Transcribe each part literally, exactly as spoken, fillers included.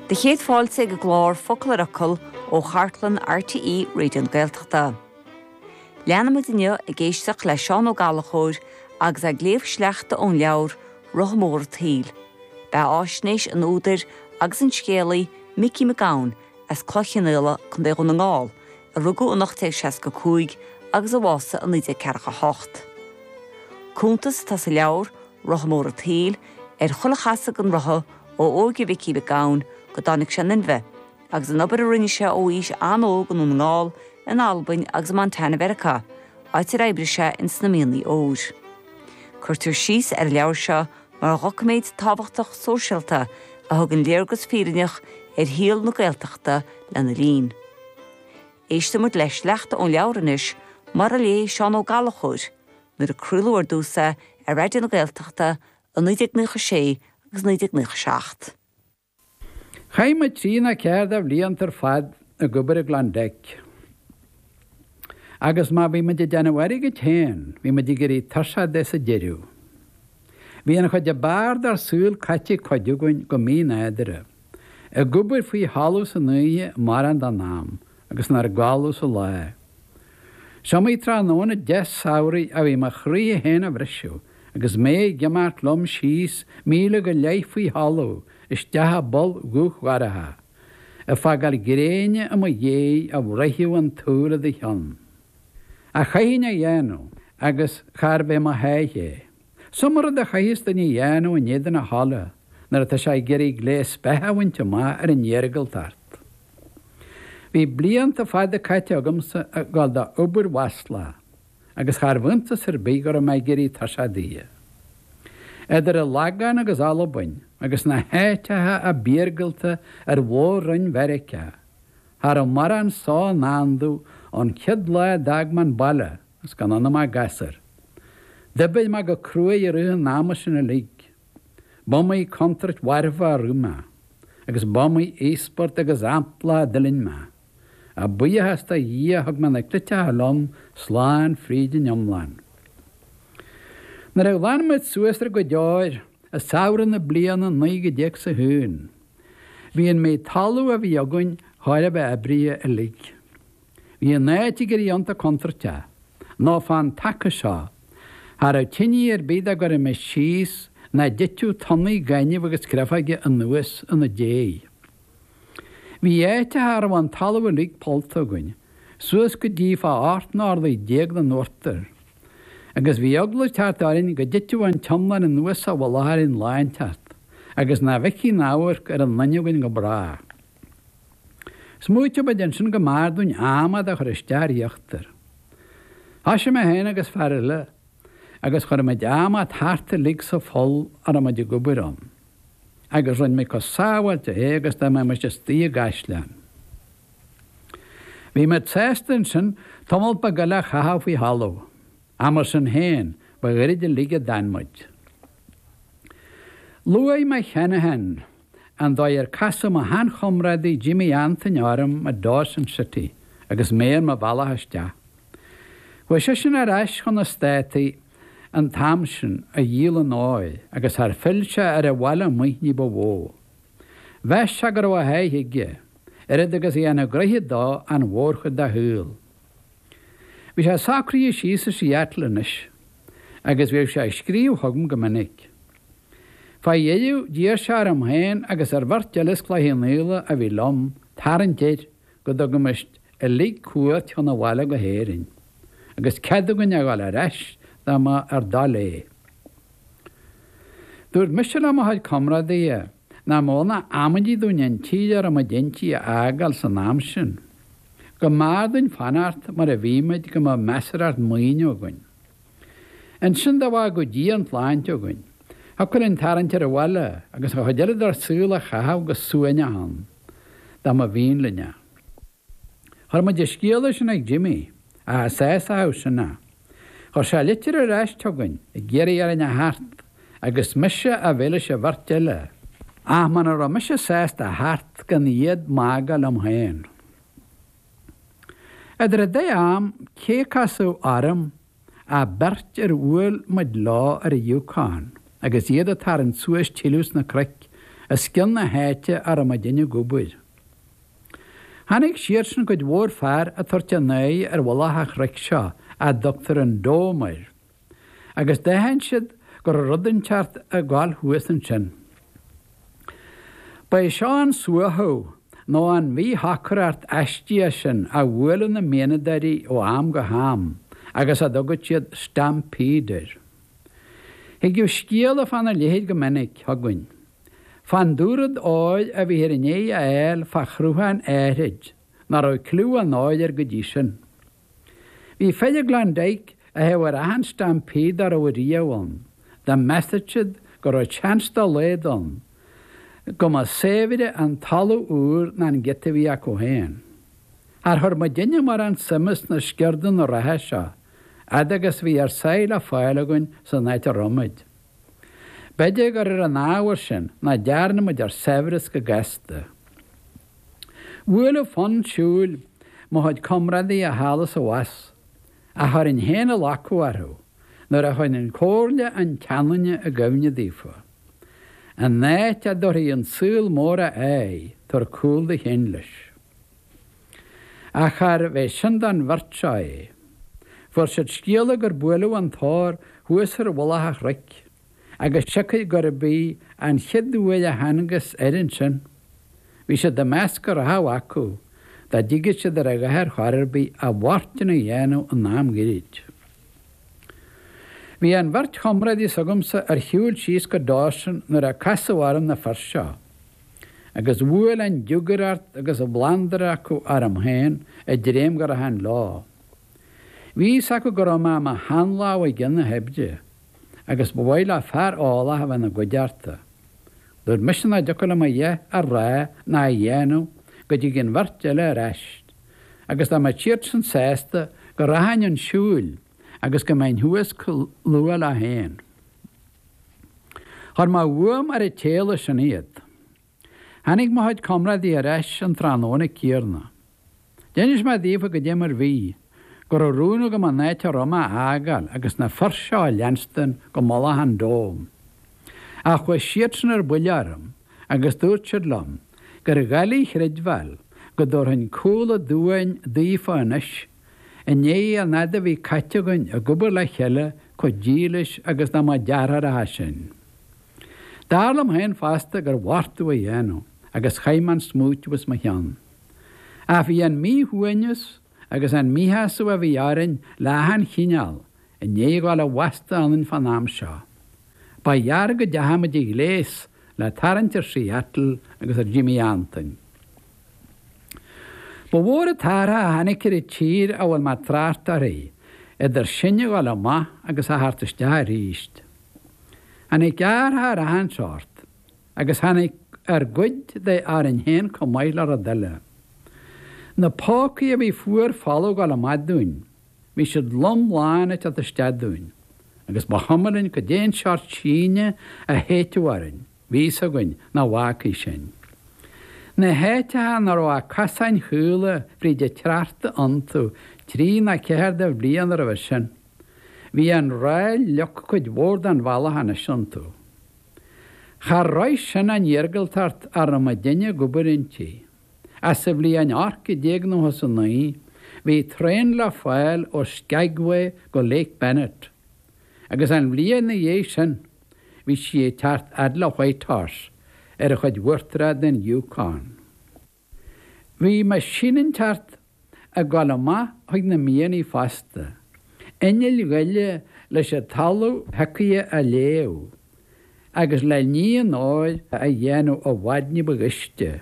Do chéad fáilte ag an gclár Focal ar Fhocal ó chartlann RTÉ Raidió na Gaeltachta. Leanfaimid inniu ag éisteacht le Seán Ó Gallchóir agus ag léamh sleachta ón leabhar Rotha Mór an tSaoil. Beathaisnéis an údair agus an scéalaí Micí Mac Gabhann as Cloich Cheann Fhaola, Contae Dhún na nGall, a rugadh in ocht déag seasca cúig agus a bhásaigh i naoi déag ceathracha hocht. Cuntas atá sa leabhar Rotha Mór an tSaoil ar chuile chasadh den rotha ó óige Mhicí Mhic Gabhann go dtáinig sé in inmhe, agus an obair a rinne sé ó aois an-óg i nDún na nGall, in Albain agus i Montana Mheiriceá, áit ar oibrigh sé ins na mianaigh óir. Cuirtear síos ar an leabhar seo mar dhoiciméad tábhachtach sóisialta a thugann léargas fírinneach ar shaol na Gaeltachta lena linn. Éistfimid le sleachta ón leabhar anois mar a léigh Seán Ó Gallchóir nuair a craoladh ar dtús é ar Raidió na Gaeltachta i naoi déag nócha sé agus naoi déag nócha seacht. Chaith muid trí nó ceathair de bhlianta ar fad ag obair i Klondike. Agus má bhí muid ag déanamh airgid féin, bhí muid ag éirí tuirseach de sa deireadh. Bhí an chuid ab fhearr dár saol caite ag cuid againn go mínádúrtha, ag obair faoi thalamh san oíche mórán den am agus inár gcodladh sa lá. Is iomaí tráthnóna deas samhraidh a bhí mo chroí féin á bhriseadh agus mé ag imeacht liom síos míle go leith faoi thalamh isteach i bpoll dhubh dhorcha, ag fágáil gréine i mo dhiaidh a bhruithfeadh an tsúil i do cheann. Ach chaithfinn é a dhéanamh agus charbh é mo sháith é. Is iomaí rud a chaithfeas duine a dhéanamh in éadan a thola nuair atá sé ag iarraidh gléas beatha a bhaint amach ar an iargúltacht. Bhí blianta fada caite agamsa ag dul d'obair mhaslach agus charbh iontas ar bith go raibh mé ag éirí tuirseach di. Idir an Lagán agus Albain agus na háiteacha ab iargúlta ar mhór-roinn Mheiriceá, cha raibh mórán só i ndán domh ón chéad lá a d'fhág mé an baile agus gan ionam ach gasúr. D'oibrigh mé go cruaidh i rith an ama sin uilig. B'iomaí contúirt mharfach a rith mé, agus b'iomaí íospairt agus amplá a d'fhuilaing mé. Ach buíochas do Dhia thug mé na cleiteacha liom slán fríd an iomlán. Nuair a ghlan muid suas ár gcuid óir i samhradh na bliana naoi déag is a haon, bhí an méid talaimh a bhí againn chóir a bheith oibrithe uilig. Bhí an áit ag éirí iontach contúirteach, nó fán taca seo, cha raibh tine ar bith dá gcuirfimis síos nach dtitfeadh tonnaí gainimh agus créafóige anuas ina diaidh. Bhí áiteacha a raibh an talamh uilig pollta againn, suas go dtí fá ocht n-orlaí déag den uachtar, agus bhí eagla ag teacht orainn go dtitfeadh an t-iomlán anuas sa mhullach orainn lá inteacht, agus nach bhfeicfí aon amharc ar an nduine againn go bráth. Smaoitigh muid ansin go mb'fhearr dúinn adhmad a chur isteach ar íochtar. Thoisigh mé féin agus fear eile agus chuir muid adhmad thart uilig sa pholl a raibh muid ag obair ann. Agus rinne muid chomh sábháilte é agus dá mbeadh muid istigh i gcaisleán. Bhí muid sásta ansin tamall beag eile a chaitheamh faoi thalamh, ach mar sin féin, ba ghairid uilig a d'fhan muid. Luaigh mé cheana féin an dóigh ar casadh mo sheanchomrádaí Jimmy Antoin orm i Dawson City agus mé ar mo bhealach isteach. Chuaigh seisean ar ais chun na Státaí an t-am sin a dhíol an óir agus char phill sé ar an bhaile amuigh ní ba mhó. Mheas sé go raibh a sháith aige, oiread agus a dhéanamh gnoithe dó an mhórchuid dá shaol. Bhí sé socraithe síos i Seattle anois agus bhíodh sé ag scríobh chugam go minic. Fá dheireadh d'iarr sé orm féin agus ar bheirt eile as Cloich Cheann Fhaola a bhí liom tarraingt air go dtugaimis uilig cuairt chun an bhaile go hÉirinn, agus cead againn a dhul ar ais dá mba ár dtoil é. Dúirt mise le mo chuid comrádaithe nach mba aon amaidí dúinn an tír a raibh muid inti a fhágáil san am sin, go mb'fhearr dúinn fanacht mar a bhí muid go mbeadh measarthacht maoine againn. Ansin dá bhfágadh Dia an tsláinte againn, thiocfadh linn tarraingt ar an bhaile agus an chuid eile dár saol a chaitheamh go suaimhneach ann, dá mba mhian linn é. Chuir muid an scéala sin ag Jimmy, ach is é a shásamh sin é. Chuir sé litir ar ais chugainn ag iarraidh orainn a theacht agus mise a bheith leis an bheirt eile, ach muna raibh mise sásta a theacht gan iad m'fhágáil liom féin. Idir an dá am, cé a casadh orm ach beirt ar bhuail muid leo ar an Yukon agus iad ag tarraingt suas tuilleadh sna cnoic os cionn na háite a raibh muidinne ag obair. Tháinig siadsan cuid mhór fear ag tabhairt a n-aghaidh ar mhullach an chnoic seo a dtugtar an Dome air, agus d'aithin siad go raibh rud inteacht ag gabháil thuas ansin. Ba é seo an suaitheadh nó an mhíshocracht aisteach sin a bhuaileadh na mianadóirí ó am go ham agus a dtugadh siad stampede air. Thigeadh scéala fána leithéid go minic chugainn, fán dúrud óir a bhíthear i ndiaidh a fháil fá shruthán áithrid nach raibh cliú an óir air go dtí sin. Bhí fir i gClondyke a théadh ar achan stampede dá raibh riamh ann, dá measadh siad go raibh seans dá laghad ann go mba saibhre an talamh úr ná an giota a bhí acu féin. Char chuir muidinne mórán suime sna sciordanna reatha seo, fhad agus a bhí ár sáith le fáil againn san áit a raibh muid. B'fhéidir gur ar an ábhar sin nach dtearn muid ár saibhreas go gasta. Bhuaileadh fonn siúil mo chuid comrádaithe thall is abhus, ach chuirfinn féin a lacadh orthu nuair a chuirfinn comhairle an tseanduine i gcuimhne daofa. An áit a dtabharfaidh an saol mór a aghaidh, tabhair cúl do chinn leis. Ach charbh é sin don bheirt seo é. Fuair siad scéala gur buaileadh an t-ór thuas ar mhullach an chnoic, agus siocair gurb í an chéad uair a thángthas air ansin, bhí siad ag meas go rachadh acu dá dtigeadh siad ar a dhath ar chor ar bith a bhfortún a dhéanamh in am gairid. Bhí an bheirt chomrádaí s'agamsa ar shiúl síos go Dawson nuair a casadh orm na fir seo, agus bhuail an diúgaireacht agus an bhlandar acu orm féin ag dréim go rachainn leo. Bhí fhios acu go raibh mé i mo sheanlámh i gcionn na hoibre, agus ba mhaith leo fear eolach a bheith ina gcuideachta. Dúirt mise nach dtiocfadh liom a dhath a rá ná a dhéanamh go dtig an bheirt eile ar ais, agus dá mbeadh siadsan sásta go rachainn chun siúil agus go mbeinn thuas chomh luath leo féin. Chuir mé uaim ar an tséala sin iad. Tháinig mo chuid comrádaí ar ais an tráthnóna céanna. D'inis mé daofa goidé mar bhí, go raibh rún agam an áit a raibh mé a fhágáil agus na fir seo a leanstan go mullach an Dome. Ach chuaigh siadsan ar buile orm agus dúirt siad liom gur dhoiligh a chreidbheáil go dtabharfainn cúl aduain daofa anois i ndiaidh an fhad a bhí caite againn ag obair le chéile chomh dílis agus dá mba deartháireacha sinn. Dar liom féin fosta gur mhortú a dhéanamh agus chaith mé an smaoitiú as mo cheann. Ach bhí an míshuaimhneas agus an míshásamh a bhí orainn le achan chineál i ndiaidh a ghabháil i bhfastó ionainn fán am seo. Ba ghearr go dteachaigh muid a ghléas le tarraingt ar Seattle agus ar Jimí Antoin. Ba mhór an t-athrach a tháinig ar an tír a bhfuil mé ag trácht uirthi, idir sinn a ghabháil amach agus a theacht isteach arís. Tháinig athrach ar achan seort, agus tháinig ár gcuid de orainn féin chomh maith le rud eile. Na pócaí a bhí fuar folamh ag gabháil amach dúinn, bhí siad lom lán ag teacht isteach dúinn, agus ba chuma linn cad é an seort síneadh a théiteadh orainn, bhí fhios againn nach bhfágfaí sinn. Na háiteacha nach raibh ach cosáin chaola fríd an tráchta iontu trí nó ceathair de bhlianta roimhe sin, bhí an ráil fhliuch cuid mhór den bhealach anois iontu. Char raibh sin an iargúltacht a raibh muidinne ag obair inti. Ach sa bhliain ocht déag nócha is a naoi, bhí traein le fáil ó Skagway go Lake Bennett, agus an bhliain ina dhiaidh sin, bhí sí ag teacht fhad le Whitehorse ar an chuid uachtarach den Yukon. Bhí meaisín inteacht ag gabháil amach chuig na mianaigh fosta, innill ghoile leis an talamh shiocaithe a léamh agus le ní an óir a dhéanamh i bhfad ní ba ghaiste.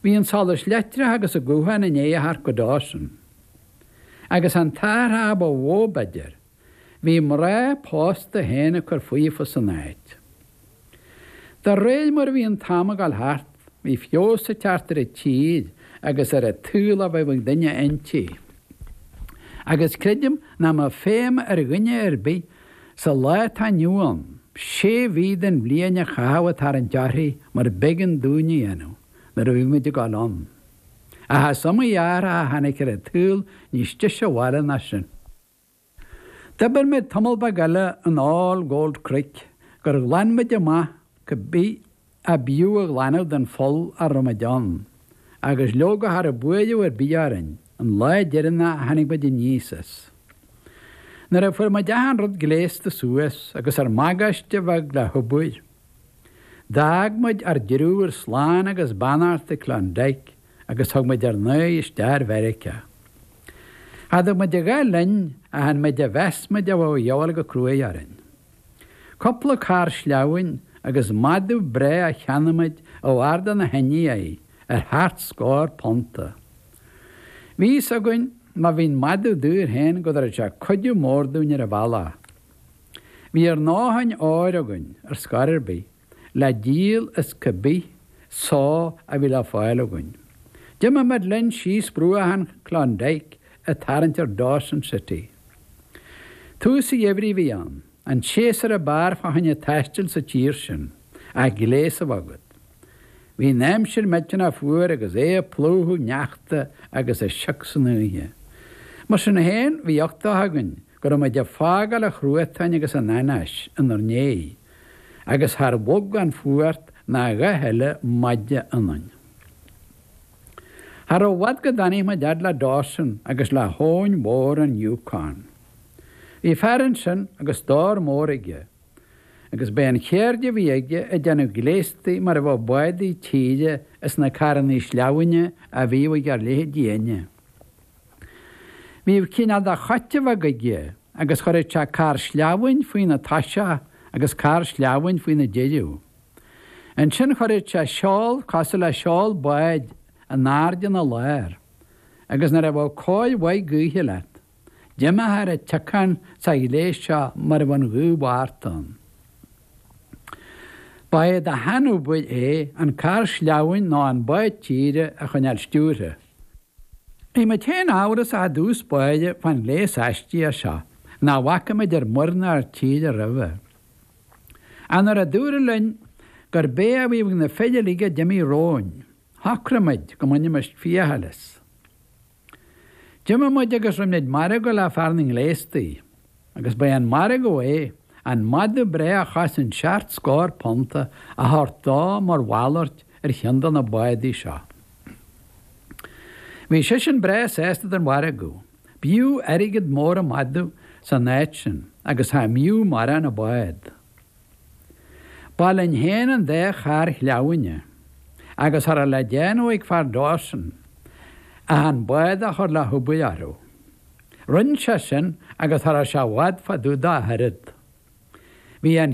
Bhí an solas leictreach agus an guthán i ndiaidh a theacht go Dawson. Agus an t-athrach ba mhó, b'fhéidir, bhí mná pósta féin ag cur fúthu san áit. De réir mar a bhí an t-am ag dul thart, bhí feabhas ag teacht ar an tír agus ar an tsaol a bheadh ag duine inti. Agus creidim nach mbeadh feidhm ar dhuine ar bith sa lá atá inniu ann sé mhí den bhliain a chaitheamh ag tarraingt uirthi mar b'éigean dúinn a dhéanamh nuair a bhí muid ag dul ann. Ach is iomaí athrach a tháinig ar an tsaol níos deise abhaile ná sin. D'oibir muid tamall beag eile in Old Gold Creek gur ghlan muid amach cibé ab fhiú a ghlanadh den pholl a raibh muid ann, agus leoga cha raibh buaireamh ar bith orainn an lá deireanach a tháinig muid aníos as. Nuair a fuair muid achan rud gléasta suas agus ár mbagáiste bheag le hobair, d'fhág muid ár dtriúr slán agus beannacht i Klondike agus thug muid ár n-aghaidh isteach ar Mheiriceá. Cha dtug muid a dhath linn ach an méid a mheas muid a bheadh a dhíobháil go cruaidh orainn. Cúpla carr sleamhain agus madadh breá a cheannaigh muid ó fhear de na hIndiaigh ar sheacht scór punta. Bhí fhios againn má bhí an madadh daor féin go dtabharfadh sé cuidiú mór dúinn ar an bhealach. Bhí ár ndóthain óir againn, ar scor ar bith, le díol as cibé só a bhí le fáil againn. D'imigh muid linn síos bruach an Klondike ag tarraingt ar Dawson City. Tús an gheimhridh a bhí ann, an séasúr ab fhearr fá choinne taistil sa tír sin, ach gléas a bheith agat. Bhí an aimsir millteanach fuar agus é ag plúchadh neachta agus ag sioc san oíche. Mar sin féin, bhí uchtach againn go raibh muid ag fágáil an chruatáin agus an anáis inár ndiaidh, agus char bhog an fuacht ná a dhath eile maide ionainn. Cha raibh i bhfad go dtáinig muid fhad le Dawson agus le habhainn mhór an Yukon. Bhí fear ansin agus stór mór aige, agus b'é an cheird a bhí aige ag déanamh gléastaí mar a bheadh bádaí tíre as na carrannaí sleamhaine a bhíodh ag ár leithéidí inne. Bhíodh cineál de chóta bheag aige agus chuireadh sé carr sleamhain faoina toiseach agus carr sleamhain faoina deireadh. Ansin chuireadh sé seol cosúil le seol báid in airde ina lár, agus nuair a bheadh cóir mhaith gaoithe leat, d'imeofá ar an tiocán sa ghléas seo mar a bheadh an ghaoth mhart ann. Ba é de shean-obair é an carr sleamhain nó an bád tíre a choinneáil stiúrtha. Bhí muid féin amhrasach i dtús báire fán ghléas aisteach seo nach bhfaca muid ar muir ná ar tír roimhe. Ach nuair a dúradh linn gurb é a bhí ag na fir uilig a d'imigh romhainn, shocraigh muid go mbainfimis fiacail as. D'imigh muid agus rinne muid margadh le fear na ngléastaí, agus ba é an margadh é an madadh breá a chosain seacht scór punta a thabhairt dó mar mhalairt ar cheann de na bádaí seo. Bhí seisean breá sásta den mhargadh. B'fhiú airgead mór an madadh san áit sin agus cha mb'fhiú mórán an bád. Ba linn féin an dá charr shleamhaine, agus cha raibh le déanamh ag fear Dawson ach an bád a chur le hobair orthu. Rinne sé sin agus cha raibh sé i bhfad fá dtaobh dá oiread. Bhí an